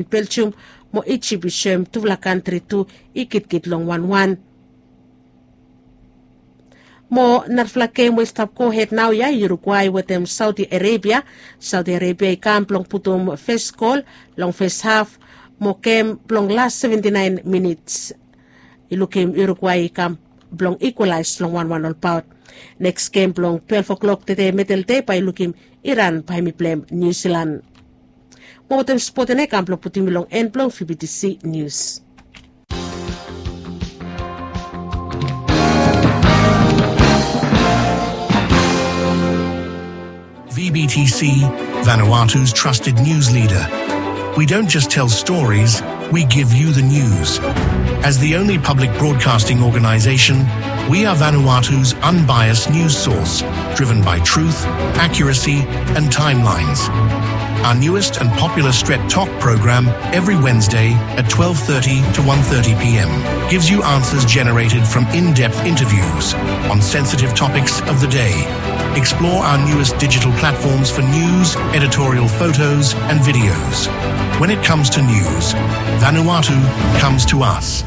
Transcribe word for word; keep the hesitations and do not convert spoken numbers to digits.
Belgium mo Ijip i soem tufala kantri tu i gidigid long wanwan. Mo narafala gem we i stap gohed naoia, Uruguay wetem Saudi Arabia. Saudi Arabia i kam blong putum fes gol long fes haf, mo gem blong las seventy naen minits i lukim Uruguay i kam blong ikwalaes long wanwan olbaot. Neks gem blong twelef o'klok tede medel dei bae i lukim Iran bae hem i pleim Niu Silan. Mo wetem spot ena i kam blong putum mi long en blong V B T C Nius. V B T C, Vanuatu's trusted news leader. We don't just tell stories, we give you the news. As the only public broadcasting organization, we are Vanuatu's unbiased news source, driven by truth, accuracy, and timelines. Our newest and popular Stret Tok program, every Wednesday at twelve thirty to one thirty p m, gives you answers generated from in-depth interviews on sensitive topics of the day. Explore our newest digital platforms for news, editorial photos, and videos. When it comes to news, Vanuatu comes to us.